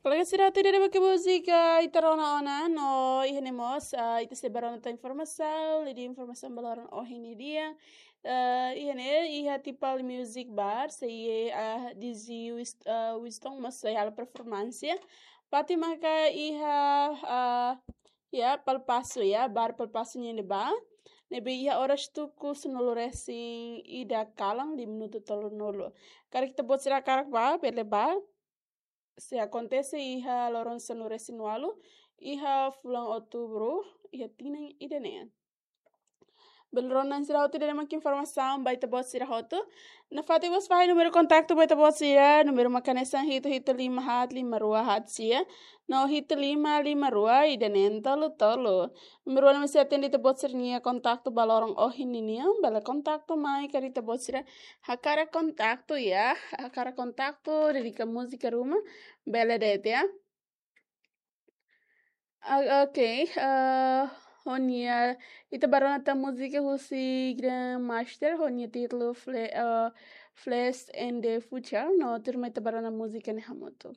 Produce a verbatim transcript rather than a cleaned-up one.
Kolega sira, ida-ne'e mak múzika ita rona ona, no iha ne'e mós, ah, ita sei bá rona tan informasaun, liuliu informasaun ba loron ohin nian. Ah, iha ne'e, iha Tipal Music Bar, sei, ah, D J Wis-, ah, Winston mós sei halo performance. Fatin maka iha, ah, ya, Palpaso, ya, bar Palpaso nian ne'ebá. Ne'ebé iha oras tuku sanulu resin ida kalan, di minutu tolunulu. Karik ita-boot sira hakarak bá, bele bá. Sei akontese iha loron sanulu resin ualu, iha fulan Outubru, iha tinan ida-ne'e. Bele rona sira hotu, ida-ne'e mak informasaun ba ita-boot sira hotu. Nafatin mós fahe númeru kontaktu ba ita-boot sira, númeru mak hanesan hitu hitu lima haat lima rua haat sia, no hitu lima lima rua ida neen tolu tolu. Númeru ne'e mós sei atende ita-boot sira-nia kontaktu ba loron ohin nian, bele kontaktu mai karik ita-boot sira hakarak kontaktu, ya, hakarak kontaktu, dedika múzika ruma, bele de'it, ya. Ah, ok, ah, ho nia, ita bá rona tan múzika husi Grandmaster, ho nia títulu Fle-, ah, Flash and the Future, no tuirmai ita bá rona múzika ne'e hamutuk.